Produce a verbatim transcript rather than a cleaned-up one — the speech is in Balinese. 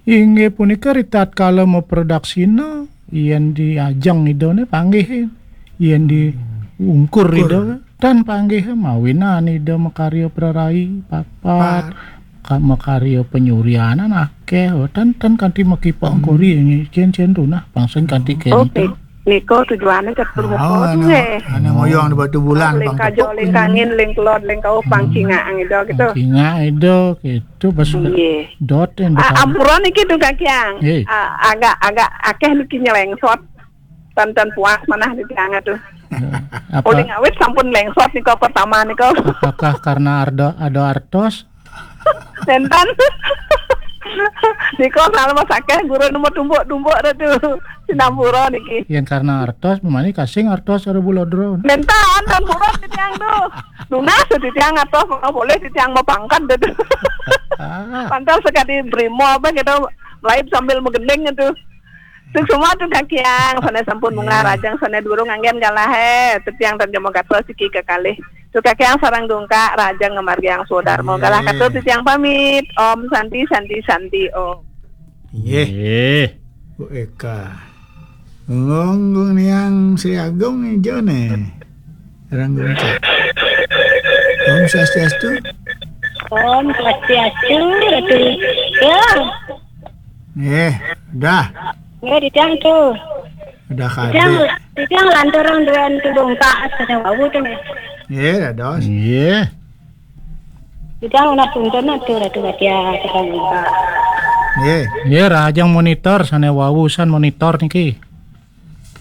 Inggih punika ritatkala maprodaksina, yen di ajeng Ida ne panggih, yen di ungkur Ida, tan panggih mawinan Ida makarya prarai papat, ka-, makarya panyuryanan akeh, tan, tan kanti makipok kori, cen-cen tunah pangsen kanti kento. Nika tujuane catur muka tu, eh. Ane ngoyong di batu bulan, ling kajo, ling kangin, ling kelod, ling kau, pang cingak ang Ida gitu. Cingak Ida gitu, pas dot yang ampura niki tu, Kakiang. Agak, agak akeh niki nyelengsot. Tan, tan puas manah di tiang tu. Uling awit sampun lengsot nika pertama nika. Apakah karena ada, ada artos? Nenten. Nika kalau masakeh guru nemu tumbuk-tumbuk dah tu. Sinampura niki. Yang karena artos, memani kasing artos ada bulodro. Nenten, tan pura di tiang tu. Lunas di tiang artos, mana boleh di tiang mau pangkat dah tu. Pantas sekali brimo apa gitu, melaib sambil menggending itu. Suksma tu Kakiang, sane sampun munggah rajang, sane durung anggen galah, eh. Tetiang tan jemo gatos siki kekalih. Tu Kakiang sareng dungkak rajang ngamargiang swadarma. Galah katur titiang pamit. Om Santi, Santi, Santi, Om. Nggih. Bu Eka. Ngong, ngong niang Sri Agung ijo ne. Rang dungkak. Om Swastiastu. Om Swastiastu, Ratu. Ya. Nggih, dah. Nggih, titiang tu. Dah kadek. Titiang lanturang duan tu dongkak sane wau tu nggih. Nggih, dados. Nggih. Titiang ulah tuntun tu Ratu Batia, titiang dongkak. Nggih. Nggih, rahajeng monitor sane wau san monitor niki.